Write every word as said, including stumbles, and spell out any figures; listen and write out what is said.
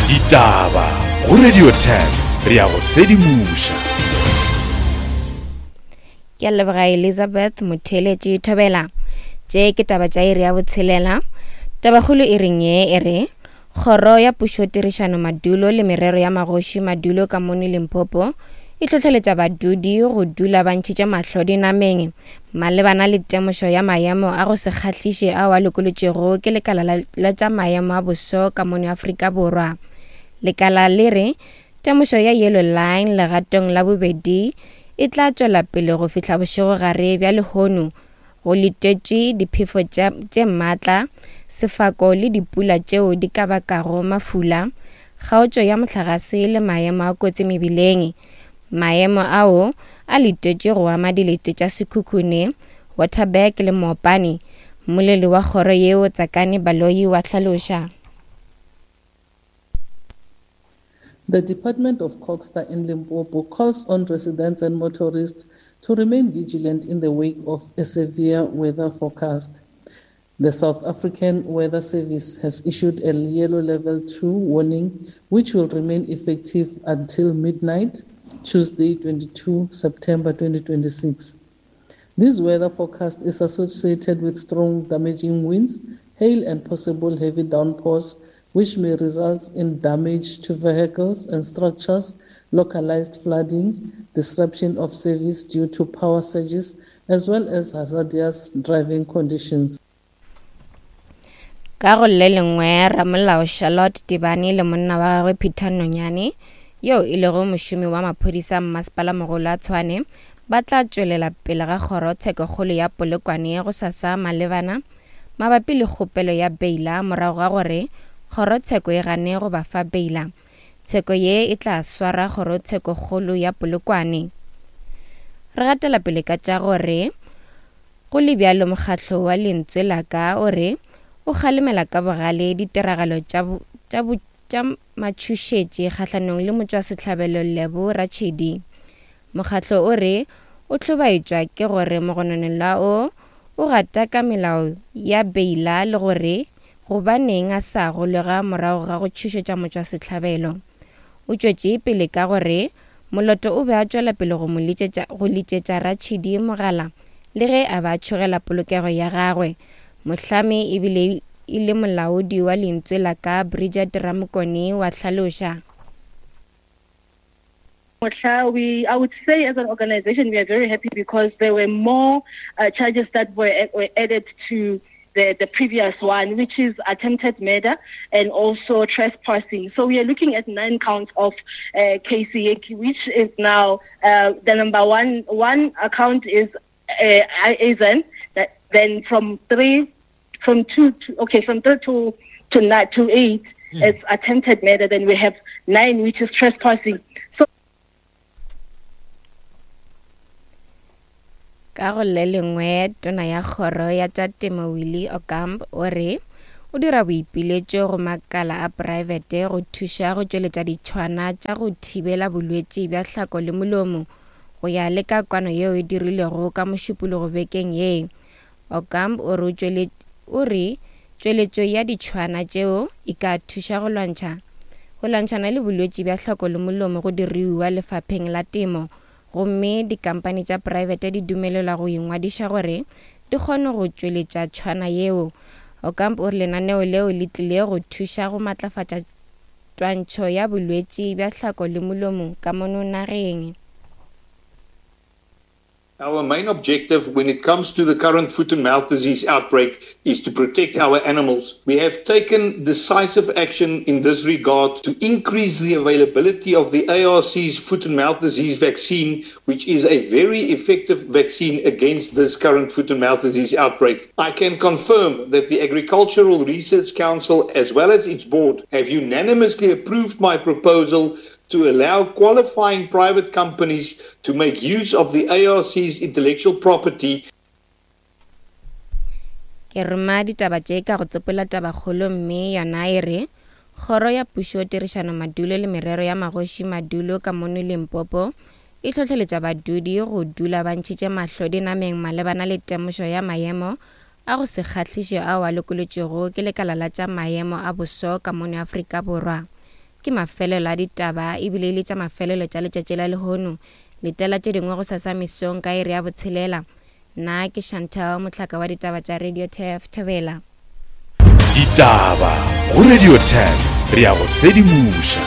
Ditaba go Radio ten re ya go sedimoša. Ke a leboga Elizabeth Motheletši Thobela. Tše ke taba tša iri ya botshelela. Tabakgolo e reng ye e re Kgoro ya Pušo Tirišano Madulo le Merero ya Magoši Madulo ka mono Limpopo e hlohleletša badudi go dula ba ntšhitše mahlo dinameng malebana le temošo ya maemo a go se kgahliše ao a lokolotšwego ke lekala la, la tša maemo a boso ka mono Afrika Borwa. Lekala le re temošo ya Yellow Line legatong la bobedi e tla tšwela pele go fihla bošegogare bja lehono go letetšwe diphefo tše maatla, sefako le dipula tšeo di ka bakago mafula, kgaotšo ya mohlagase le maemo a kotsi mebileng. Maemo ao a letetšwe go ama dilete tša Sekhukhune, Waterberg le Mopani. Mmoleli wa kgoro yeo Tsakani Baloyi wa hlaloša. The Department of CoGHSTA in Limpopo calls on residents and motorists to remain vigilant in the wake of a severe weather forecast. The South African Weather Service has issued a yellow level two warning, which will remain effective until midnight, Tuesday, twenty-second September twenty twenty-six. This weather forecast is associated with strong damaging winds, hail and possible heavy downpours, which may result in damage to vehicles and structures, localized flooding, disruption of service due to power surges, as well as hazardous driving conditions. Ka go le lengwe, ramolao Charlotte Tibane le monna wa gagwe Peter Nonyane, yo e lego mošomi wa maphodisa mmasepala mogolo a Tshwane, ba tla tšwelela pele ga kgorotshekokgolo ya Polokwane go sasa malebana mabapi le kgopelo ya beila morago ga gore kgorotsheko e gane go ba fa beila. Tsheko ye e tla swara kgorotshekokgolo ya Polokwane. Re gatela pele ka tša gore go le bjalo mokgatlo wa Lentswe la Ka o re o kgalemela ka bogale ditiragalo tša tša tša matšhošetši kgahlanong le motšwasehlabelo Lebo Ratšhidi. Mokgatlo o re o hlobaetšwa ke gore mogononelwa o o gata ka melao ya beila le gore gobaneng a sa golega morago ga go tšhošetša motšwasehlabelo. O tšwetše pele ka gore Moloto o be a tšwela pele go mo litšetša go litšetša Ratšhidi mogala le ge a ba tšhogela polokego ya gagwe. Mohlami ebile e le molaodi wa Lentswe la Ka Bridget Ramokone wa hlaloša. We, I would say as an organization we are very happy because there were more uh, charges that were, were added to the, the previous one, which is attempted murder and also trespassing. So we are looking at nine counts of uh, K C A, which is now uh, the number one. One account is uh, A Z N, that then from three, from two, to, okay, from three to to nine, to eight, mm. it's attempted murder. Then we have nine, which is trespassing. So ka go le lengwe, tona ya kgoro ya tša temo Willie Okamp o re o dira boipiletšo go makala a praebete go thuša go tšweletša ditšhwana tša go thibela bolwetši bja hlako le molomo go ya le ka kwano yeo e dirilwego ka Mošupologo bekeng ye. Okamp o re o re tšweletšo ya ditšhwana tšeo e ka thuša go lwantšha go lwantšhana le bolwetši bja hlako le molomo go diruiwa lefapheng la temo, gomme dikampani tša praebete di dumelelwa go ingwadiša gore di kgone go tšweletša tšhwana yeo. Okamp o re lenaneo leo le tlile go thuša go matlafatša twantšho ya bolwetši bja hlako le molomo ka mono nageng. Our main objective when it comes to the current foot and mouth disease outbreak is to protect our animals. We have taken decisive action in this regard to increase the availability of the A R C's foot and mouth disease vaccine, which is a very effective vaccine against this current foot and mouth disease outbreak. I can confirm that the Agricultural Research Council, as well as its board, have unanimously approved my proposal to allow qualifying private companies to make use of the A R C's intellectual property. Ke roma ditaba tše ka go tsopola tabakgolo mme yona e re Kgoro ya Pušo Tirišano Madulo le Merero ya Magoši Madulo ka mono Limpopo e hlohleletša badudi go dula ba ntšhitše mahlo dinameng malebana le temošo ya maemo a go se kgahliše ao a lokolotšwego ke lekala la tša maemo a boso ka mono Afrika Borwa. Ke mafelelo a ditaba ebile e le tša mafelelo tša letšatši la lehono. Letela tše dingwe go sasa mesong ka iri ya botshelela. Nna ke Chantal, mohlaka wa ditaba tša Radio T F Thobela. Ditaba go Radio ten, re ya go sedimoša.